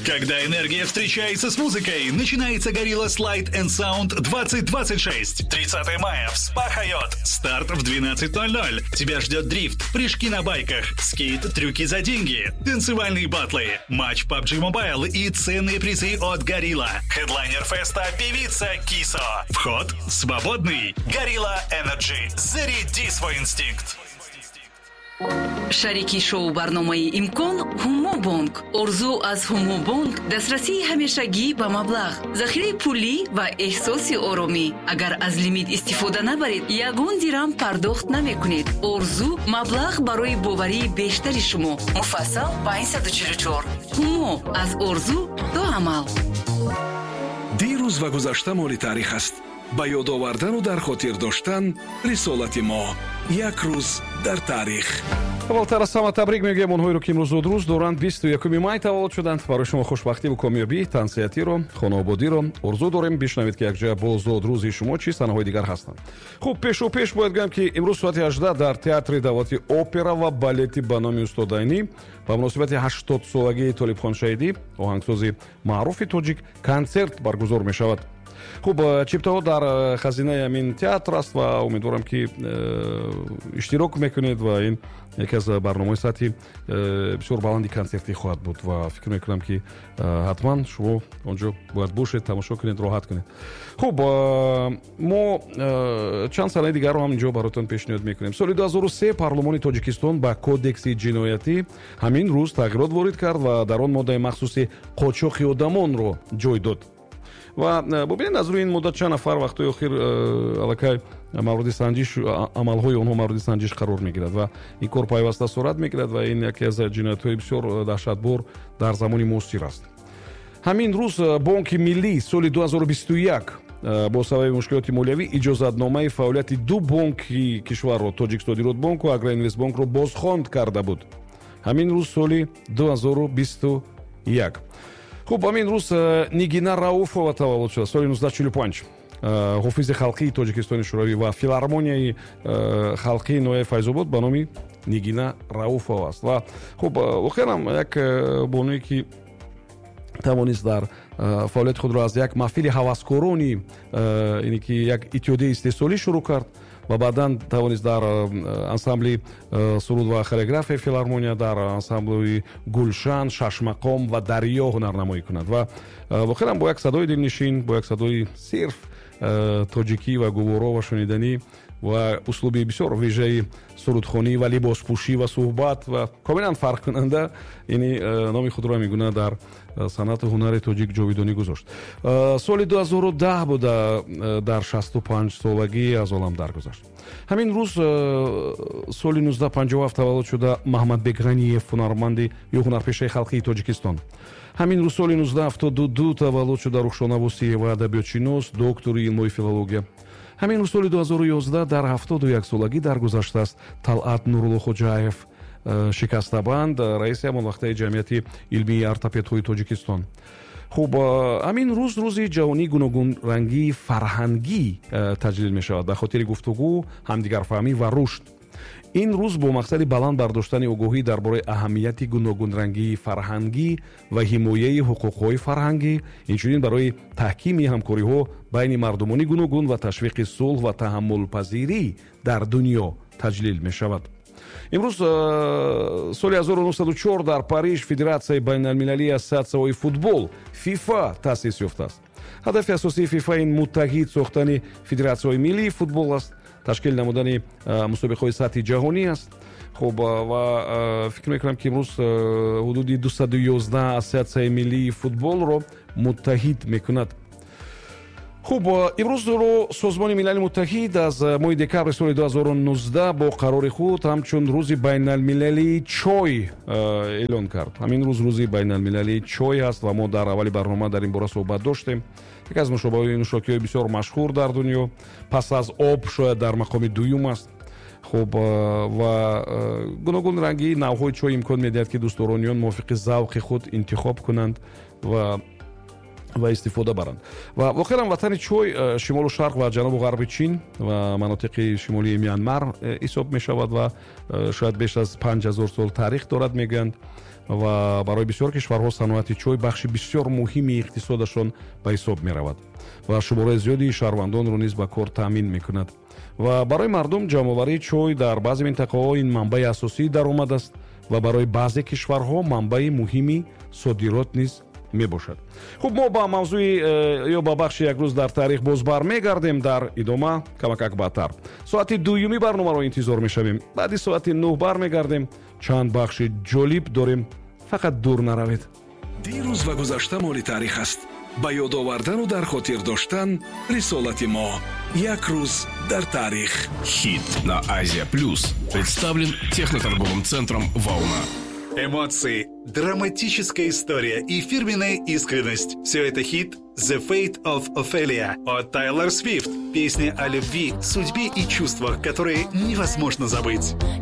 Когда энергия встречается с музыкой, начинается Gorillaz Light and Sound 2026. 30 мая в СПА Хайот. Старт в 12:00. Тебя ждет дрифт, прыжки на байках, скейт, трюки за деньги, танцевальные батлы, матч PUBG Mobile и ценные призы от Gorilla. Хедлайнер феста — певица Кисо. Вход свободный. Gorilla Energy. Заряди свой инстинкт. Шарики шоу барномаи «Имкон» Ҳумобонк. Орзу аз Ҳумобонк дастрасии ҳамешагӣ ба маблағ, захираи пулӣ ва эҳсоси оромӣ. Агар аз лимит истифода набаред, ягон дирам пардохт намекунед. Орзу маблағ барои боварии бештари шумо. Муфассал 544. Ҳумо аз орзу до амал. Дирӯз ва гузашта моли таърих аст. Ба ёд овардану дар хотир доштан рисолати мо. Як рӯз дар таърих. Аввалтар аз ҳама табрик мегӯям онҳоеро, ки имрӯз зодрӯз доранд, 21 май таваллуд шуданд. Барои шумо хушбахтиву комёбӣ, тансиҳатиро, хонаободиро орзу дорем. Бишнавед, ки якҷоя бо зодрӯзи шумо чӣ санаҳои дигар ҳастанд. Хуб, пешу пеш бояд гӯям, ки имрӯз соати 18 дар Театри давлати опера ва балети ба номи устод Айнӣ ба муносибати 80-солагии Толибхон Шаҳидӣ, оҳангсози маъруфи тоҷик, консерт баргузор мешавад. Хуб, чиптаҳо дар хазинаи ҳамин театр аст ва умедворам, ки иштирок мекунед ва ин яке аз барномаҳои сатҳи бисёр баланди консертӣ хоҳад буд ва фикр мекунам, ки ҳатман шумо он ҷо бояд бошед, тамошо кунед, роҳат кунед. Хуб, мо чанд санаи дигарро ҳам инҷо бароятон пешниҳод мекунем. Соли 2003 парлумони Тоҷикистон ба Кодекси ҷиноятӣ ҳамин рӯз тағйирот ворид кард ва дар он моддаи махсуси қочоқи одамонро ҷой дод. Ва бубинед, аз рӯи ин модда чанд нафар вақтҳои охир аллакай мавриди санҷиш, амалҳои онҳо мавриди санҷиш қарор мегирад ва ин кор пайваста сурат мегирад ва ин яке аз ҷиноятҳои бисёр даҳшатбор дар замони муосир аст. Ҳамин рӯз Бонки Миллӣ соли 2021 бо сабаби мушкилоти молиявӣ иҷозатномаи фаъолияти ду бонки кишварро, Тоҷиксодиротбонку Агроинвестбонкро, бозхонд карда буд. Ҳамин рӯз, соли 2021. Хуб, ҳамин рӯз Нигина Рауфова таваллуд шуда, соли 1945, ҳофизи халқии Тоҷикистони Шӯравӣ ва филармонияи халқии ноҳияи Файзобод ба номи Нигина Рауфова аст. Ва хуб, воқеан ҳам як бонуе, ки тавонист дар фаъолияти худро аз як маҳфили ҳаваскорони, ине ки як иттиҳодияи истеҳсолӣ шурӯъ кард ва баъдан тавонист дар ансамбли суруд ва хореографияи филармония, дар ансамбли Гулшан, Шашмақом ва Дарё ҳунарнамоӣ кунад ва воқеан бо як садои дилнишин, бо як садои сирф тоҷикӣ ва гуворо ва шуниданӣ ва услуби бисёр вежаи сурудхонӣ ва либоспӯшӣ ва суҳбат ва комилан фарқкунанда, ини номи худро ҳамин дар санъату ҳунари тоҷик ҷовидонӣ гузошт. Соли 2010 буда, дар 65 солагӣ аз олам даргузашт. Ҳамин рӯз, соли 1957 таваллуд шуда Маҳмадбек Ғаниев, ҳунарманди ё ҳунарпешаи халқии Тоҷикистон. Ҳамин рӯз, соли 1972 таваллуд шуда Рухшона Вусиева, адабиётшинос, доктори илмҳои филология. Ҳамин рӯз, соли 2011 дар 71 солагӣ даргузаштааст Талъат Нуруллоходжаев, шикастабанд, раиси ҳамон вақтаи Ҷамъияти илмии ортопедҳои Тоҷикистон. Хуб, ҳамин рӯз Рӯзи ҷаҳонии гуногунрангии фарҳангӣ таҷлил мешавад ба хотири гуфтугӯ, ҳамдигарфаҳмӣ ва рушд. Ин рӯз бо мақсади баланд бардоштани огоҳӣ дар бораи аҳамияти гуногунрангии фарҳангӣ ва ҳимояи ҳуқуқҳои фарҳангӣ, инчунин барои таҳкими ҳамкориҳо байни мардумони гуногун ва ташвиқи сулҳ ва таҳаммулпазирӣ дар дунё таҷлил мешавад. Имрӯз, соли 1904 дар Париж Федератсияи байналмилалии ассотсиатсияҳои футбол, ФИФА, таъсис ёфтааст. Ҳадафи асосии ФИФА ин муттаҳид сохтани федератсияҳои миллии футбол аст, ташкил намудани мусобиқаҳои сатҳи ҷаҳонӣ аст. Хуб, ва фикр мекунам, ки имрӯз ҳудуди 211 ассотсиатсияи миллии футболро муттаҳид мекунад. Хуб, имрӯзро Созмони Милали Муттаҳид аз моҳи декабри соли 2019 бо қарори худ ҳамчун Рӯзи байналмилалии чой эълон кард. Ҳамин рӯз Рӯзи байналмилалии чой аст ва мо дар аввали барнома дар ин бора суҳбат доштем. Яке аз нӯшокиҳои бисёр машҳур дар дунё, пас аз об шояд дар мақоми дуюм аст. Хуб, ва гуногунрангии навъҳои чой имкон медиҳад, ки дӯстдорониён мувофиқи завқи худ интихоб кунанд ва истифода баранд. Ва воқеан ватани чой шимолу шарқ ва ҷанубу ғарби Чин ва манотиқи шимолии Мянмар ҳисоб мешавад ва шояд беш аз 5000 сол таърих дорад, мегӯянд. Ва барои бисёр кишварҳо саноати чой бахши бисёр муҳими иқтисодашон ба ҳисоб меравад ва шумораи зиёди шаҳрвандонро низ ба кор таъмин мекунад. Ва барои мардум ҷамъоварии чой дар баъзе минтақаҳо ин манбаи асосии даромад аст ва барои баъзе кишварҳо манбаи муҳими содирот низ мебошад. Хуб, мо ба мавзӯи ё ба бахши «Як рӯз дар таърих» боз бармегардем дар идома, камакак баъдтар. Соати дуюми барномаро интизор мешавем. Баъди соати 9 бармегардем, чанд бахши ҷолиб дорем, фақат дур наравед. Дирӯз ва гузашта моли таърих аст. Ба ёд овардану дар хотир доштан рисолати мо. «Як рӯз дар таърих». Хит на Азия Плюс представлен техноторговым центром «Волна». Эмоции, драматическая история и фирменная искренность. Все это хит «The Fate of Ophelia» от Тайлор Свифт. Песня о любви, судьбе и чувствах, которые невозможно забыть.